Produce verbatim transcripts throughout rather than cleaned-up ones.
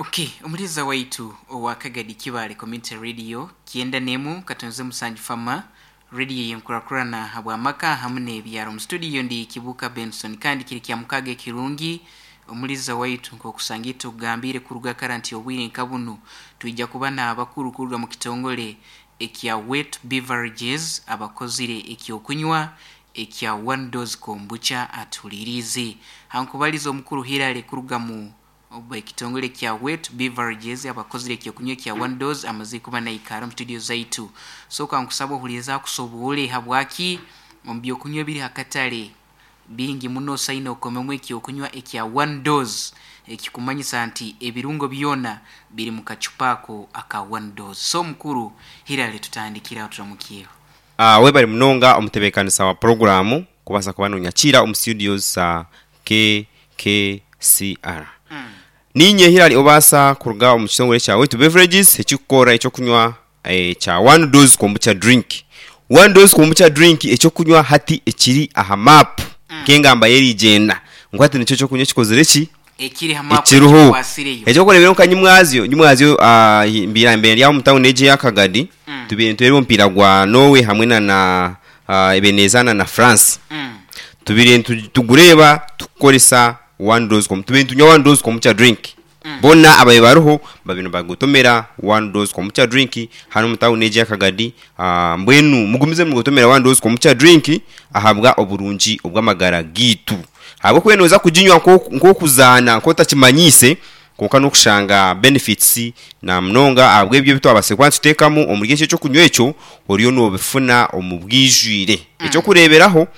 Okay, omuliza waitu owa Kagadi Kibale Community Radio kyenda nemu katonze musanju fama radio yenkurakurana habwamaka hamu n'ebyaro. Mu studio ndi Kibuka Benson, kandi kiri kya mukaga ekirungi omuliza waitu nk'okusanga tugambire kuruga kara nti obwire nka bunu twija kuba n'abakuru kuruga mu kitongole ekya Wet Beverages abakozire ekyokunywa ekya One Dose Kombucha. Atulirize hankubaliza omukuru Hilary kuruga mu oba ekitongole kya Wet Beverages abakozire ekyokunywa kya One Dose amaze kuba naikara mu studio zaitu. So kankusaba ohuliriza akusoboole habwaki omu byokunywa ebiri hakatale bingi muno saina okomemu ekyokunywa ekya One Dose, ekikumanyisa nti ebirungo byona biri mu kacupa ako aka One Dose. So mukuru Hilary, tutandikira turamukiyeho. Uh, webali munonga omutebeekanisa wa puroguramu kubaasa kuba nonyakiira omu studios za K K C R. mm. Ninye Hilary obaasa kuruga omu kitongole kya Wet Beverages ekikukora ekyokunywa eh, kya One Dose Kombucha drink. One Dose Kombucha drink, ekyokunywa hati ekiri aha map, Mm. nk'engamba y'erigyenda ngu hati nikyo ekyokunywa ekikozire ki ekiri ha map, ekiriho ekikwasireyo. Ekyokureeberaho nka nyimwazyo nyimwazyo uh, mbiira mbere ryaho omu tawuni egi ey'Akagadi, Mm. tubiire nitureeba omupiira gwa Norway hamwe na na uh, Ebenezana na France. mm. Tubiire nitu- tugureeba tukukoresa One Dose Kombucha, tubiire nitunywa One Dose Kombucha drink. Mm. Bona abaye bariho babino bagotomera One Dose Kombucha drink hano mu tawuni egi y'Akagadi. uh, mbwenu mugumize mugotomera One Dose Kombucha drink ahabwa oburungi obw'amagara gitu, ahabw'okuba noza kuginywa nko- nk'okuzaana nk'otakimanyiise, konka n'okushanga benefits na munonga ahabw'ebyo ebi twabase kuba nituteekamu omuri ekyo ekyokunywa ekyo oriyo noobifuna omu bwijwire. Ekyokureeberaho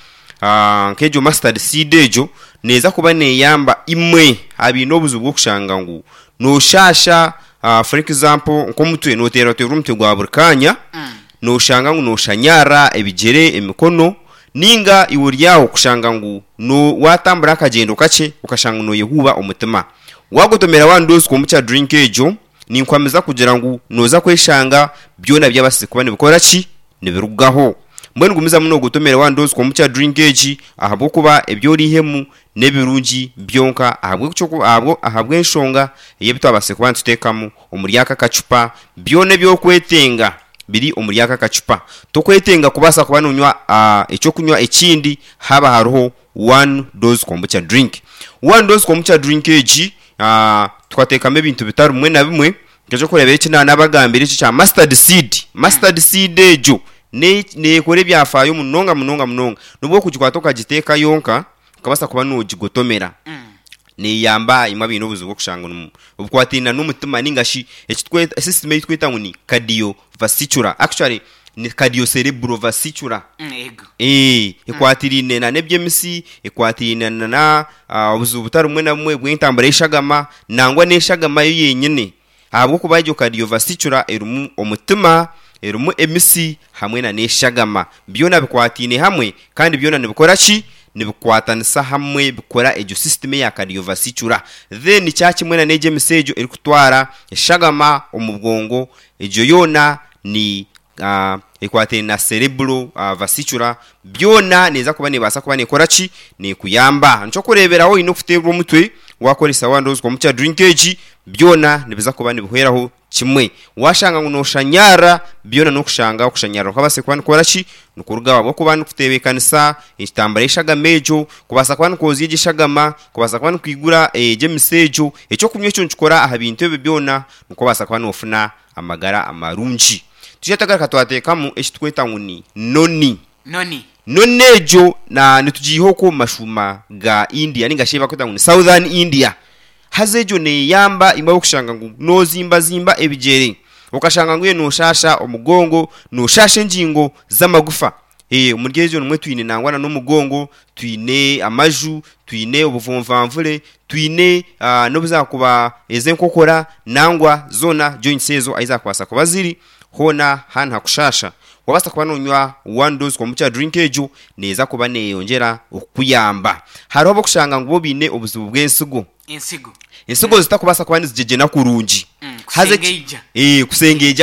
ah, nk'egyo mustard seed, egyo neeza kuba neeyamba imwe abaine obuzibu bw'okushanga ngu noshasha, uh, for example nk'omutwe noteerateera omutwe gwa buri kanya, Mm. noshanga ngu noshanyara ebigyere, emikono, ninga iwe ori aho kushanga ngu no watambura akagyendo kakye okashanga noyehuuba omutima. Wagotomera One Dose Kombucha drink egyo, ninkwamiza kugira ngu noza kweshanga byona byabasize kuba nibikora ki nibirugaho. Mbwenu gumizamu nogotomera One Dose Kombucha drink egi, ahabw'okuba ebyoriihemu n'ebirungi byonka, ahabw'ekyoku- ahabwo- ahabw'enshonga ey'ebi twabasize kuba nituteekamu omuri aka kacupa. Byona ebyokwetenga biri omuri aka kacupa, tokwetenga kubaasa kuba nonywa uh, ekyokunywa ekindi haba hariho One Dose Kombucha drink. One Dose Kombucha drink egi uh, tukateekamu ebintu bitari bimwe na bimwe, nk'ekyokureebera eki naanabagambire ekyo kya mustard seed. Mustard seed egyo ne- neekora ebyafaayo munonga munonga munonga. Nubwo okugikwata okagiteeka yonka okabaasa kuba nogigotomera, Mm. neyamba imwe abaine obuzibu bw'okushanga nomu- obukwatiraine n'omutima ninga shi ekitweta system ei tweta ngu ni cardiovascular, actually ni cardiocerebrovascular. Mm, ego Eh, ekwatiraine na n'eby'emisi, ekwatiraine na na ah, obuzibu butari bumwe na bumwe bw'entambura y'eshagama, nangwa n'eshagama yo yenyine, ahabw'okuba egyo cardiovascular erimu omutima, erimu emisi hamwe na n'eshagama, byona bikwataine hamwe kandi byona nibikora ki nibikwatanisa hamwe bikora egyo system eya cardiovascular. Then kyakimwe na n'egyo emisi egyo erikutwara eshagama omu bwongo, egyo yoona ni uh, ekwataine na cerebral uh, vascular, byona neeza kuba nebaasa kuba nekora ki nekuyamba. Nikyokureeberaho oine okuteerwa omutwe, wakoresa One Dose Kombucha drink egi, byona nibiza kuba nibihweraho kimwe. Washanga ngu noshanyara, byona n'okushanga okushanyara kwabase kuba nikukora ki nikurugaho, ahabw'okuba nikutebeekanisa ekitambara y'eshagama egyo kubaasa kuba nikwozya egyo eshagama, kubaasa kuba nikwigura egyo emisi egyo. Ekyokunywa ekyo nikikora aha bintu ebyo byona, nikubaasa kuba noofuna amagara amarungi. Tujya twagaruka twateekamu ekitweta ngu ni noni. Noni. Noni egyo na nitugiiha okwo omu mashuuma ga India ninga shi bakweta ngu ni Southern India. Haza egyo neeyamba imwe abokushanga ngu nozimbazimba ebigyere, okashanga ngu iwe noshasha omugongo, noshasha engingo z'amagufa. Eh, omuri egyo nimwe twine nangwa na n'omugongo, twine amaju, twine obuvunvanvure, twine uh, n'obuzakuba ez'enkokora, nangwa zoona joints ezo ahi zakubaasa kuba ziri hoona hanu hakushasha. Wabaasa kuba nonywa One Dose Kombucha drink egyo, neeza kuba neeyongyera okukuyamba. Hariho abokushanga ngu bo baine obuzibu bw'ensigo, ensigo, ensigo zitakubaasa kuba nizigyegyena kurungi. Mm, Haza eki- kusengeija. Eh, kusengeija.